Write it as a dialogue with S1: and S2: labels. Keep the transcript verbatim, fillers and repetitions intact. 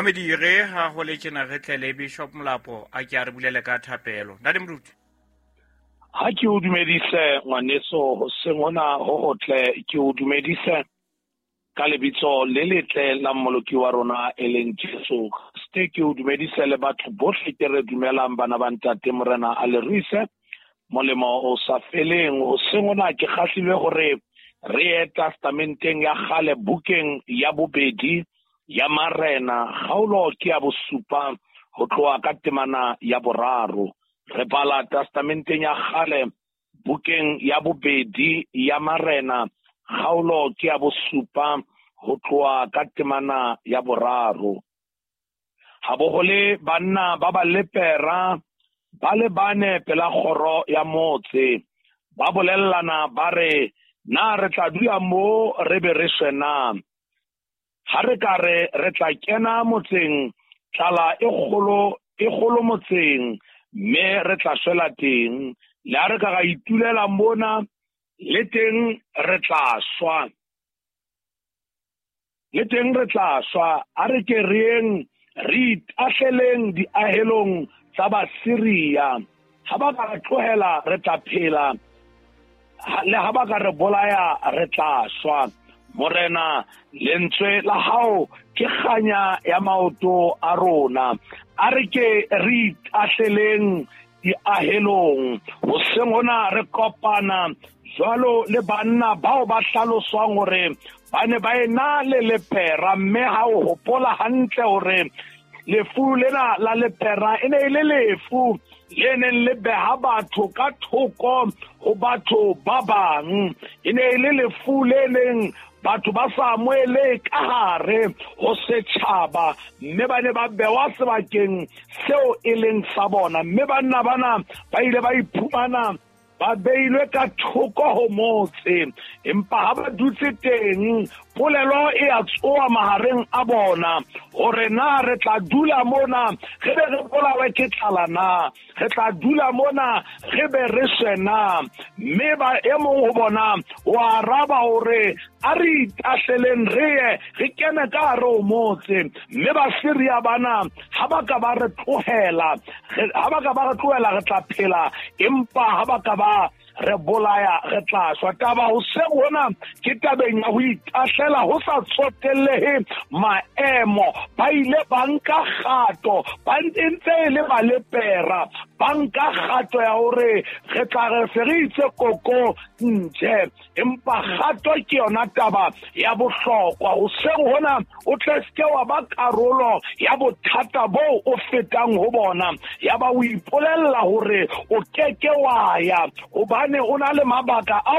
S1: Mamedi re ha ho le tjena re tle le Bishop Molapo a ke a re bulele ka thapelo. Ntate Moruti.
S2: Ha ke o dumedise ngwaneso hoseng hona ho hotle, ke o dumedise ka lebitso le letle la Mmoloki wa rona e leng Jesu Kriste. Ke o dumedise le batho bohle ke re dumelang bana ba ntate Morena a le ruise molemo o sa feleng. Hoseng hona ke kgahlilwe hore re ye testamenteng ya kgale bukeng ya bobedi ya Marena, kgaolo ke ya bosupa ho tloha ka temana ya boraro. Re bala testamenteng ya kgale bukeng ya bobedi ya Marena, kgaolo ke ya bosupa ho tloha ka temana ya boraro. Ha bo ho le banna ba ba lepera ba le bane pela kgoro ya motse, ba bolellana ba re, na re tla dula mo re be re shwe na? Ha re ka re re tla kena motseng, tlala e kgolo e kgolo motseng, mme re tla shwela teng. Le ha re ka ra itulela mona, le teng re tla shwa. Le teng re tla shwa. A re ke reng re itahleleng diahelong tsa Basiria. Ha ba ka re tlohela re tla phela, le ha ba ka re bolaya re tla shwa. Morena, lentswe la hao ke kganya ya maoto a rona. A re ke re itahleleng diahelong. Hoseng hona re kopana jwalo le banna bao ba hlaloswang hore ba ne ba ena le lepera, mme ha o hopola hantle hore lefu lena la lepera e ne e le lefu le neng le beha batho ka thoko ho batho ba bang. E ne e le lefu le leng batho ba sa amohele ka hare ho setjhaba, mme ba ne ba bewa sebakeng seo e leng sa bona. Mme banna bana ba ile ba iphumana ba beilwe ka thoko ho motse, empa ha ba dutse teng polelo e a tsoa mahareng a bona hore na re tla dula mona re be re bolawe ke tlala na, re tla dula mona re be re shwe na. Mme ba e mong ho bona o araba hore a re itahleleng re ye re kene ka hare ho motse. Mme Basiria bana ha ba ka ba re tlohela, ha ba ka ba re tlohela re tla phela, empa ha ba ka ba re bolaya re tla shwa. Taba hoseng hona ke tabeng ya ho itahlela ho sa tsotellehe maemo. Ba ile ba nka kgato, ba ntse e le balepera, ba nka kgato ya hore re tla re se re itse koko nje, empa kgato ke yona taba ya bohlokwa. Hoseng hona o tle seke wa ba karolo ya bothata boo o fetang ho bona, ya ba o ipolella hore o keke wa ya hobane o na le mabaka ao